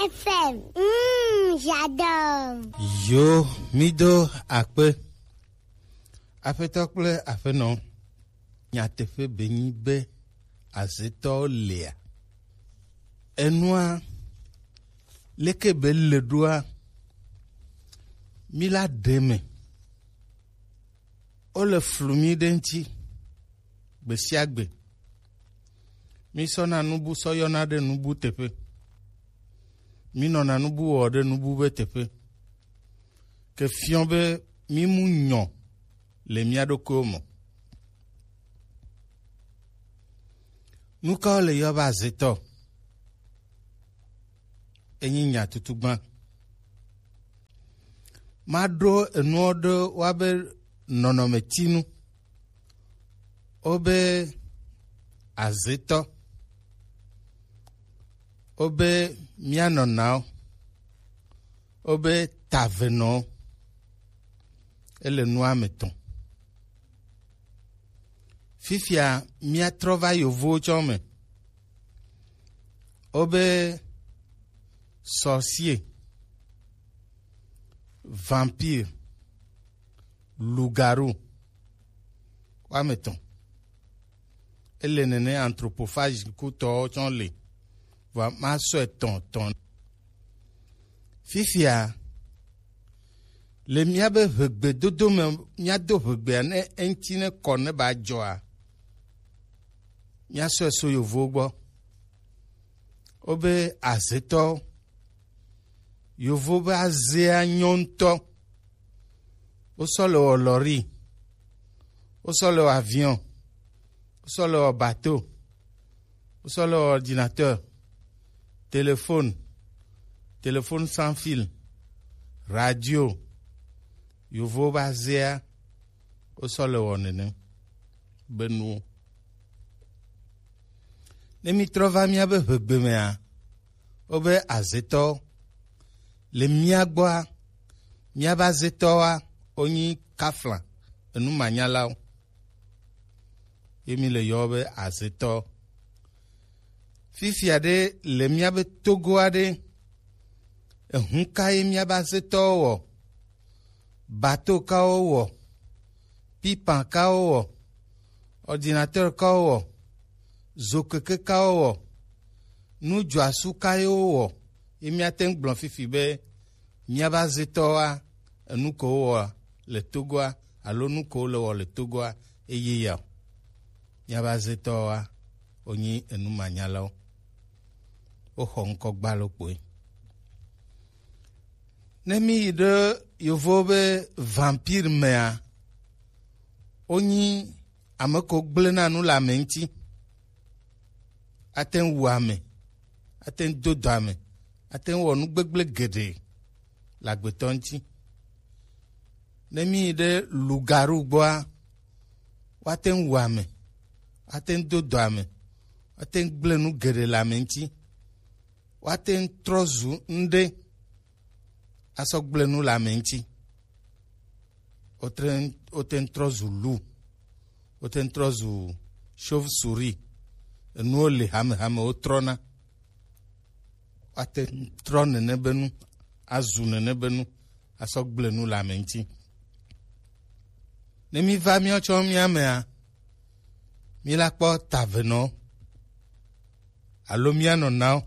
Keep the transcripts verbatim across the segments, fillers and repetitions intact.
F M. Mm, j'adore. Yo, mido akpe. Aƒetɔ kple aƒenɔ, nyateƒe benyi be azetɔwo lia. Enua, leke be le ɖoa, mi la ɖe me. Wole flu mi ɖe ŋuti gbe sia gbe. Mi sɔna nubu sɔ yɔna ɖe nubu teƒe. Mi nɔna nubu wɔ ɖe nubu be teƒe. Ke fiɔ be mi mu nyɔ le mia ɖokuiwo me. Nu kawo le yɔ be azetɔ? Enyi nya tutu gbã. Maɖo enuwo ɖe woabe nɔnɔmetinu. Wobe azetɔ. Wobe mianɔnawo. Wobe tavenɔwo. Ele nua me tɔn. Fifia míatrɔ va yovowo tsɔ me. Wobe sorcier, vampire, loup-garou, woame etɔ̃. Ele nene anthropophage kutɔwo tsɔ le. Vɔa masɔe tɔn tɔn. Fifia, le míabe ʋegbedodo me, míado ʋegbea ne eŋuti ne kɔ ne ba dzɔa, míasɔe so yovowo gbɔ. Wobe azetɔ, yovo be azea nyɔ ŋutɔ. Wosɔ le wɔ lɔri, wosɔ le wɔ avion, wosɔ le wɔ bateau, wosɔ le wɔ ordinateur, téléphone, téléphone sans fil, radio. Yovowo be azea wosɔ le wɔ nene be nuwo. Ne mítrɔ va míabe ʋegbe mea, wobe azetɔwo le mía gbɔa, míabe azetɔwoa, wonyi kafla, enumanyalawo. Ye mi le yɔ be azetɔ. Fifia ɖe le míabe Togoa ɖe, ehu ka ye míabe azetɔwo wɔ? Bateau kawo wɔ? Pipan kawo wɔ? Ordinateur kawo wɔ? Zokeke kawo wɔ? Nudzɔasu ka ye wo wɔ? Ye míate ŋu gblɔ fifi be míabe azetɔwoa, enu ko wowɔa le Togoa alo nu ko le wɔ le Togoa eye ya o. Míabe azetɔwoa, wonyi enumanyalawo. Woxɔ ŋkɔ gbalo kpoe. Ne mi yi ɖe yovo be vampire mea, wonyi ame ko gblẽna nu le ame ŋuti. Ate ŋu wu ame, ate ŋu do dɔ ame, ate ŋu wɔ nu gbegblẽ geɖe le agbetɔ ŋuti. Ne mi yi ɖe loup-garou gbɔa, woate ŋu wu ame, woate ŋu do dɔ ame, woate ŋu gblẽ nu geɖe le ame ŋuti, woate ŋu trɔ zu ŋɖe asɔ gblẽ nu le ame ŋuti. Wote ŋu, wote ŋu trɔ zu loup, wote ŋu trɔ zu chauve-souris. Enuwo le hamehame wotrɔna. Woate ŋu trɔ nene be nu, azu nene be nu, asɔ gblẽ nu le ame ŋuti. Ne mi va míawo tsɔ mía mea, mi la kpɔ tavenɔ alo mía nɔnawo.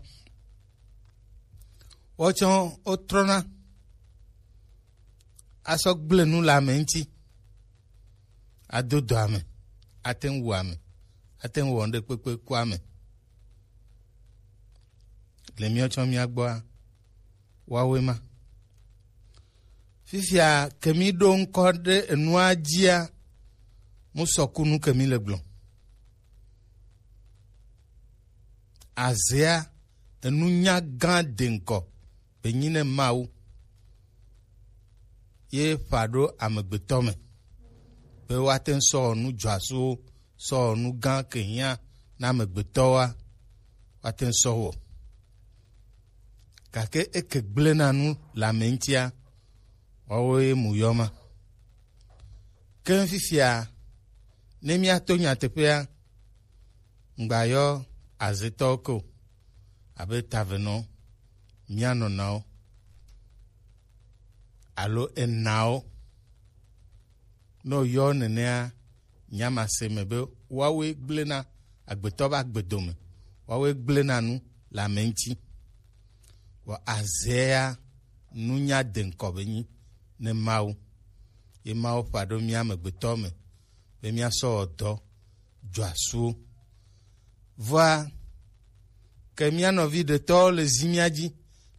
Wotsɔ wotrɔna asɔ gblẽ nu le ame ŋuti, ado dɔ ame, ate ŋu wu ame, ate ŋu wɔ ŋɖe kpekpe ku ame. Le míawo tsɔ mía gbɔa, woawoe ma. Fifia ke mi ɖo ŋkɔ ɖe enua dzia, mu sɔkunu ke mi le gblɔ. Azea, enunya gã de ŋkɔ be nyi ne Mawu ye ƒã ɖo amegbetɔ me be woate ŋu sɔ wɔ nu dzɔasuwo, sɔ wɔ nu gã ke hiã na amegbetɔwoa, woate ŋu sɔ wɔ. Gake eke gblẽna nu le ame ŋutia, woawoe mu yɔ ma. Ke fifia, ne míato nyateƒea, ŋgbayɔ azetɔwo ke o, abe tavenɔ, mía nɔnawo alo enawo. Ne woyɔ nenea, nyamase me be woawoe gblẽna agbetɔ be agbedome, woawoe gblẽna nu le ame ŋuti. Vɔ azea nunya de ŋkɔ be nyi ne Mawu. Ye Mawu ƒã ɖo mía amegbetɔ me be míasɔ wɔ dɔ dzɔasuwo. Vɔa, ke mía nɔvi ɖetɔwo le zi mía dzi,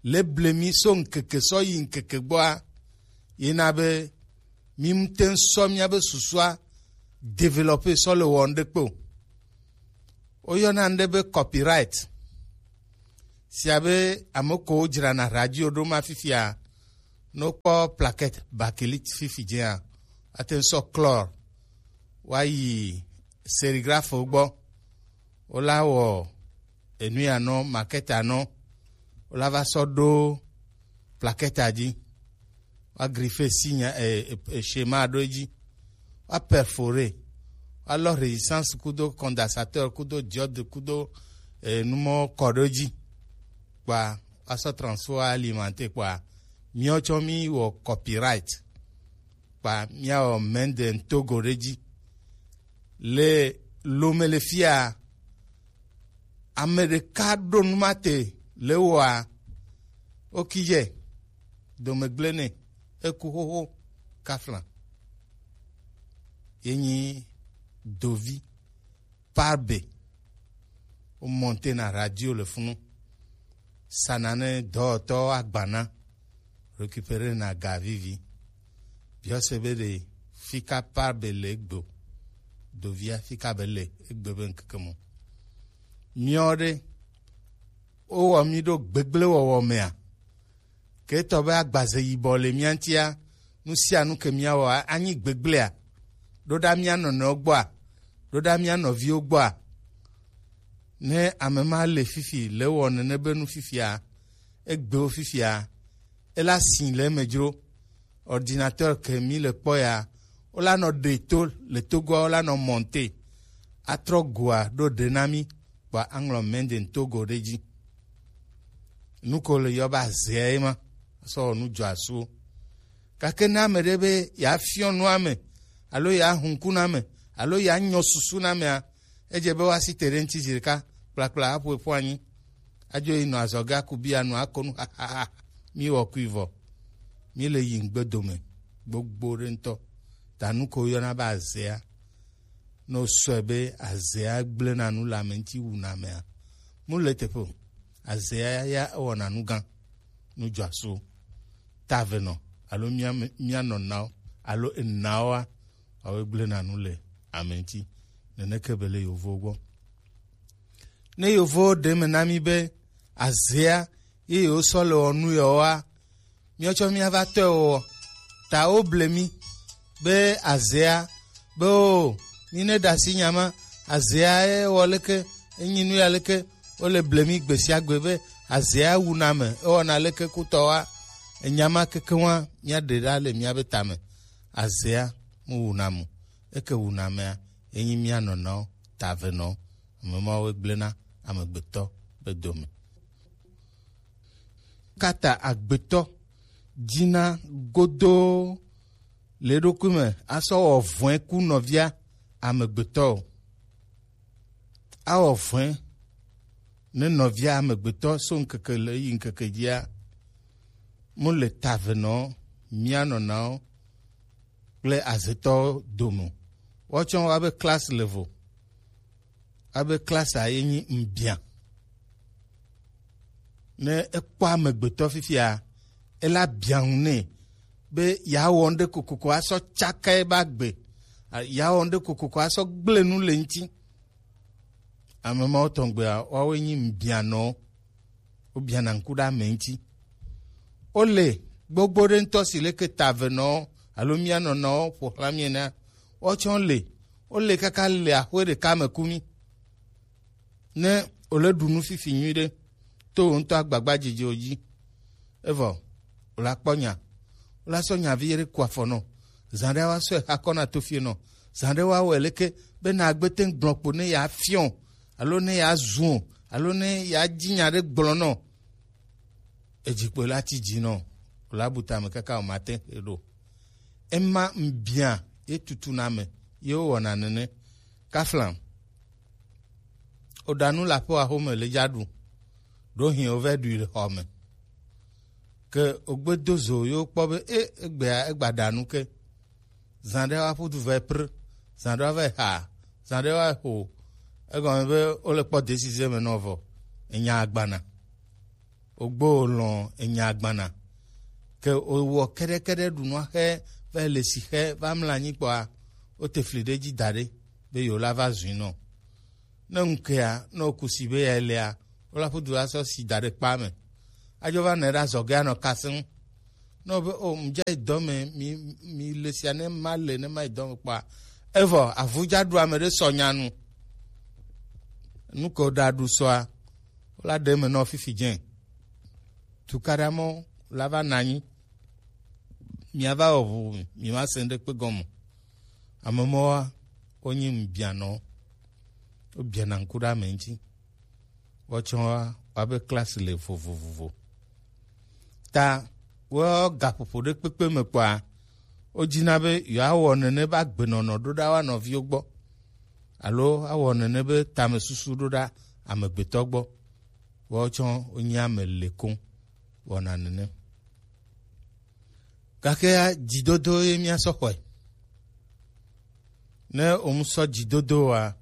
le ble mí so ŋkeke sɔ yi ŋkeke gbɔa, yena be mí ŋute ŋu sɔ míabe susua développer sɔ le wɔ ŋɖekpe o. Woyɔna ŋɖe be copyright. Sia be ame kewo dzrana radio ɖo ma fifia, ne wokpɔ plaquette bakélite fifi dzia, woate ŋu sɔ chlore woayi sérigraphe gbɔ, wola wɔ enu ya nɔ, maquette nɔ, wola va sɔ ɖo plaquette dzi, woa griffe signe, e, e, e, schéma ɖo edzi, woa perforer, woalɔ résistance kudo condensateur kudo diode kudo, e, numɔ kɔ ɖo edzi, kpa woasɔ transfo alimenter kpa míawo tsɔ mí wɔ copyright. Kpa míawɔ Menden Togo ɖe dzi. Le lome le fia, ame ɖeka ɖo nu ma te le wɔa, wokijɛ, domegble nɛ, eku xoxo kafla. Ye nyi dovi Parbe. Wo monter na radio le funu. Sana ne dɔwɔtɔ agbana. Récupérer na ga vivi. Biɔse be ɖe fika Parbe le egbe o. Dovia fika be le egbe be ŋkeke mo. Miɔ ɖe, wowɔ mi ɖo gbegble wɔwɔ mea? Ke etɔ be agbaze yibɔ le mía ŋutia, nu sia nu ke míawɔa, anyi gbegblea? Ɖo ɖa mía nɔnɔewo gbɔa? Ɖo ɖa mía nɔviwo gbɔa? Ne ame ma le fifi, le wɔ nene be nu fifia, egbewo fifia, ela si le eme dzro. Ordinateur ke mi le kpɔ ya, wola nɔ ɖe to le Togoa, wola nɔ monter, atrɔ goa ɖo ɖe na mi, kpa aŋlɔ Menden Togo ɖe dzi. Nu ko le yɔ be azea ye ma, sɔ wɔ nu dzɔasuwo. Gake ne ame ɖe be yeafiɔ nua me, alo yeahu ŋku na ame, alo yeanyɔ susu na amea, edze be woasi te ɖe ŋuti zi ɖeka kplakpla aƒo eƒu anyi. Adzo yi nɔ azɔge aku bia nu ako nu hahaha. Mi wɔ kui vɔ. Mi le yi ŋgbe dome gbogbo ɖe ŋutɔ. Ta nu ko yɔna be azea. Ne wosɔe be azea gblẽna nu le ame ŋuti wuna amea, mu le teƒe o. Azea ya ewɔna nu gã, nu dzɔasuwo. Ta eve nɔ alo mía me-, mía nɔnawo alo enawoa, woawoe gblẽna nu le ame ŋuti. Neneke be le yovowo gbɔ. Ne yovowo ɖe me na mí be azea ye yewosɔ le wɔ nu yewoa, míawo tsɔ míava tɔe wɔwɔ. Ta woble mí be azea, be o, mí ne ɖe asi nya ma, azea ye wɔ leke, enyi nu ya leke, wole ble mí gbe sia gbe be azea wuna ame, ewɔna leke kutɔwoa, enya ma kekeŋua, míaɖe ɖa le míabe tame. Azea mu wuna mu, eke wuna amea, enyi mía nɔnɔwo, ta eve nɔwo, ame mawoe gblẽna amegbetɔ be dome. Kata agbetɔ dzina godoo le eɖokui me asɔ wɔ vɔ̃e ku nɔvia amegbetɔ o. Awɔ vɔ̃e ne nɔvia amegbetɔ so ŋkeke le yi ŋkeke dzia, mu le ta eve nɔ mía nɔnawo kple azetɔwo dome o. Woatsɔ woabe classe level, abe classe a ye nyi ŋbia. Ne ekpɔ amegbetɔ fifia, ela bia ŋu nɛ be yeawɔ ŋɖe kokoko asɔ tsaka ebe agbe, a-, yeawɔ ŋɖe kokoko asɔ gblẽ nu le ŋuti. Ame mawo tɔgbeawoawoe nyi ŋbianɔwo. Wobiana ŋku ɖe ame ŋuti. Wole gbogbo ɖe ŋutɔ si leke ta eve nɔwo alo mía nɔnɔwo ƒo xlã mí enea, woawo tsɛ wole. Wole kaka le axwe ɖeka me ku mí. Ne wòle ɖu nu fifi nyuiɖe to wò ŋutɔ agbagbadzidziwo dzi, evɔ wòle akpɔ nya, wòle asɔ nya vi ɖe ku afɔ nɔ. Zã ɖe woasɔe xa kɔ na tofie nɔ. Zã ɖe woawɔe leke be nàgbe te ŋu gblɔ kpo ne yeafiɔ alo ne yeazu o alo ne yeadzi nya ɖe gblɔ nɔ. Ejikpo la ti dzi nɔ, o la bu tame kaka o ma te xe ɖo. Ema ŋbia ye tutu na me ye wo wɔna nene. Kafla, o ɖa nu le aƒe wa xome le dza ɖu, ɖo hin o vɛ ɖui le xɔ me. Ke o gbe do zo ye wo kpɔ be e egbea egba ɖa nu ke. Zã ɖe wa ƒu du vɛ pr, zã ɖe wa vɛ xa, zã ɖe wa xo. Egɔme be wo le kpɔ décision me nɔ vɔ, enya agbana. Ogbo lɔn enya agbana. Ke owɔ kɛɖɛkɛɖɛ ɖu nua xe va le si xe va mla anyi kpɔa, wo te fli ɖe dzi da ɖe be yewo la va zui nɔ. Ne ŋkea, ne wo kusi be ya lea, wo la ƒu du la sɔ si da ɖe kpa me. Adzo va nɛ ɖe azɔge anɔ kasem. Ne wo be o mu dza yi dɔ me, mi mi le sia ne ma le ne ma yi dɔ me kpɔa, evɔ avu dza ɖu ame ɖe sɔ nya nu. Nu ke wo ɖa ɖu sɔa, wo la ɖe eme nɔ fifi dze. Tukaɖa mɔ la va na anyi. Mia va wɔ ʋu, mi ma se ŋɖe kpe gɔme. Ame mɔwa, wo nyi ŋbianɔ. Wo biana ŋku ɖe ame ŋuti. Woatsɔ wa be klasi le vovovovo. Ta wo gaƒoƒo ɖe kpekpe me kpɔa, wo dzina be yewoawɔ nene be agbenɔnɔ ɖo ɖa wa nɔviwo gbɔ, alo awɔ nene be tamesusu ɖo ɖa amegbetɔ gbɔ. Woawo tsɔ wonye ame le koŋ wɔna nene. Gake ya, dzidodo ye míasɔ xɔe. Ne wòmu sɔ dzidodo wa,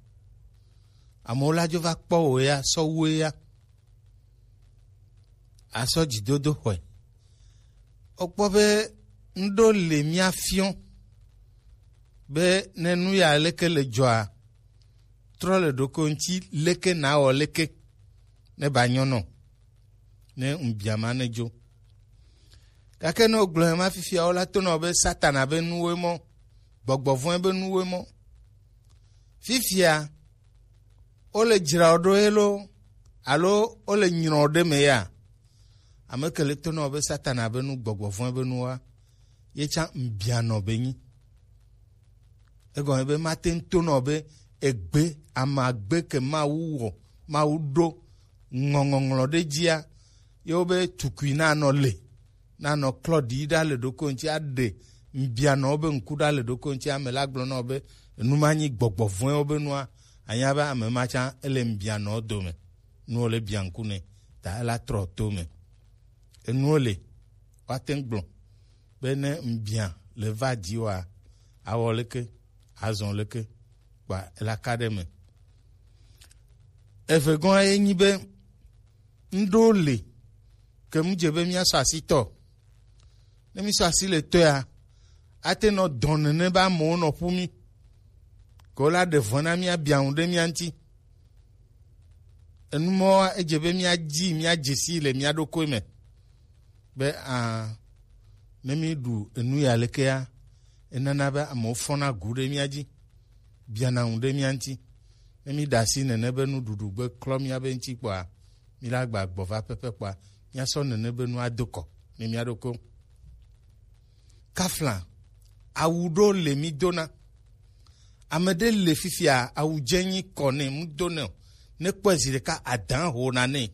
amewo la dzo va kpɔ wò ya, sɔ wue ya, asɔ dzidodo xɔe. Wokpɔ be ŋɖo le mía fiɔ be ne nu ya leke le dzɔa, trɔ le ɖoko ŋuti leke nawɔ leke ne ba nyɔ nɔ, ne ŋbiama ne dzo. Gake ne wogblɔe ma fifia, wola to nɔ be Satana be nuwoe mɔ, gbɔgbɔ vɔ̃e be nuwoe mɔ. Fifia, wole dzra wo ɖo ye lo, alo wole nyrɔ wo ɖe me ya? Ame ke le to nɔ be Satana be nu, gbɔgbɔ vɔ̃e be nuwoa, ye tsã ŋbianɔ be nyi. Egɔme be mate ŋu to nɔ be egbe, amagbe ke Mawu wɔ, Mawu ɖo ŋɔŋɔŋlɔ ɖe dzia, ye wobe tukui nanɔ le, nanɔ klɔ ɖi ɖa le ɖoko ŋuti, aɖe ŋbianɔwo be ŋku ɖa le ɖoko ŋuti. Ame la gblɔ na wo be enu ma nyi gbɔgbɔ vɔ̃ewo be nua, anya be ame ma tsã ele ŋbianɔwo dome, nuwo le bia ŋku nɛ, ta ela trɔ to me. Enuwo le, woate ŋu gblɔ be ne ŋbia le va dzi wa, awɔ leke, azɔ leke, kpa ela ka ɖe me. Eve gɔ̃ ye nyi be ŋɖo le ke mu dze be míasɔ asi tɔ. Ne mísɔ asi le tɔea, ate nɔ dɔn nene be amewo nɔ ƒu mí, ke wola ɖe vɔ̃ na mía, bia ŋu ɖe mía ŋuti. Enu mɔwoa, edze be míadzi, míadze sii le mía ɖokui me. Be a, ne míɖu enu ya lekea, enana be amewo fɔna gu ɖe mía dzi, biana ŋu ɖe mía ŋuti. Ne míɖe asi nene be nuɖuɖu gbe klɔ míabe ŋuti kpɔa, míla gba gbɔ va pepe kpɔa, míasɔ nene be nua do kɔ ne mía ɖokui. Kafla, awu ɖo le mí dona. Ame ɖe le fifia, awu dze nyi kɔ nɛ, mu do nɛ o. Ne kpɔe zi ɖeka, adan ho na nɛ.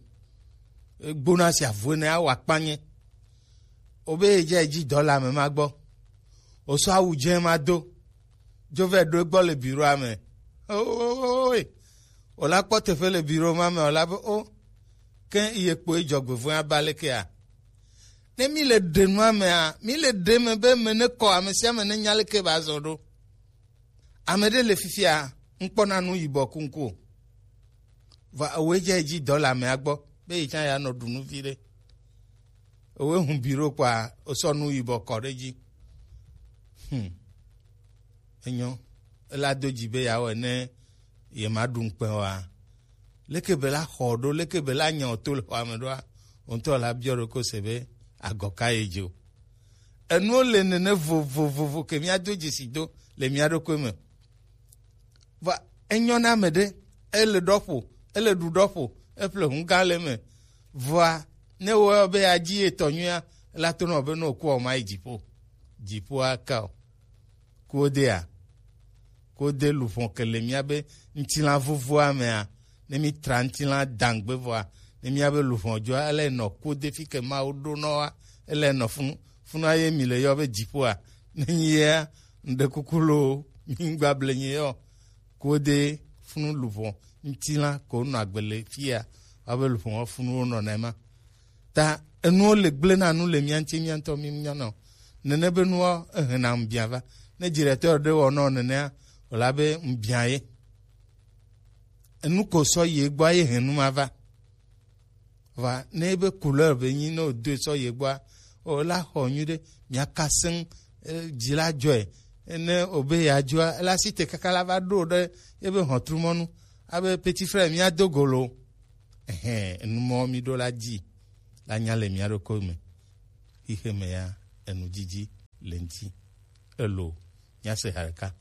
Egbona si avue ne awa kpanye. Obe ye dze dzi dɔ le ame ma gbɔ. Osɔ awu dze ma do. Dzo vɛ ɖo egbɔ le biroa me. Oe. Ola kpɔ teƒe le biro ma me, ola be o. Ke ye kpo edzɔgbevɔ̃e aba lekea? Ne mi le ɖe nua mea, mi le ɖe me be me ne kɔ, ame sia ame ne nya leke ba zɔ ɖo. Ame ɖe le fifia, ŋkpɔna nu yibɔ kuŋku o. Vɔ ewoe dze edzi dɔ le amea gbɔ, be yi tsã ya nɔ ɖu nu vi ɖe. Ewoe hu biro kpɔa, osɔ nu yibɔ kɔ ɖe dzi. Hmm. Enyo, ela do dzi be yeawɔe ne yemaɖu ŋukpe oa? Leke be la xɔ ɖo, leke be la nya o to le xɔa me ɖoa? Wo ŋutɔ la biɔ ɖokui se be agɔ ka ye dzi o. Enuwo le nene vovovovo ke míado dzesi do le mía ɖokui me. Vɔa, enyɔ na ame ɖe, ele ɖɔƒo, ele ɖu ɖɔƒo, eƒle hu gã le eme. Vɔa, ne wɔ be yeadzi etɔ nyuia, ela to nɔ be ne wòkua, wòmayi dziƒo. Dziƒoa ka o. Kuodea? Kuode luƒo ke le míabe ŋutilã vovoa mea, ne mítra ŋutilã dãgbe vɔa, Ne míabe luʋɔ dzɔa, ele nɔ kode fi ke Mawu ɖo nɔ wa, ele nɔ funu, funua ye mi le yɔ be dziƒoa. Ne nyi yea, ŋɖe kuku loo, mi ŋgba ble nyi yɔ. Kode funu luʋɔ ŋutilã ko nɔ agbe le fia, wa be luʋɔ funu wo nɔ nɛ ma. Ta enuwo le gblẽ na nu le mía ŋuti mía ŋutɔ mí nya nɔ. Nene be nuwo ehe na ŋbia va. Ne directeur ɖe wɔ nɔ nenea, wòla be ŋbia ye. Enu ko sɔ ye gbɔ ye he nu ma va. Va ne ebe couleur be nyi ne wòdoe sɔ ye gbɔa, wòla xɔ nyuiɖe, mia ka seŋ, eh, dzi la dzɔe. Ne wòbe yeadzɔa, ela si te kaka la va ɖo ɖe ebe hɔntrumɔnu. Abe petit frère, mía do go lo. Ɛhɛn, enumɔ mi ɖo la dzi la nya le mía ɖokui me. Xixe me ya, enu dzidzi le ŋuti. Elo, mía se ha ɖeka.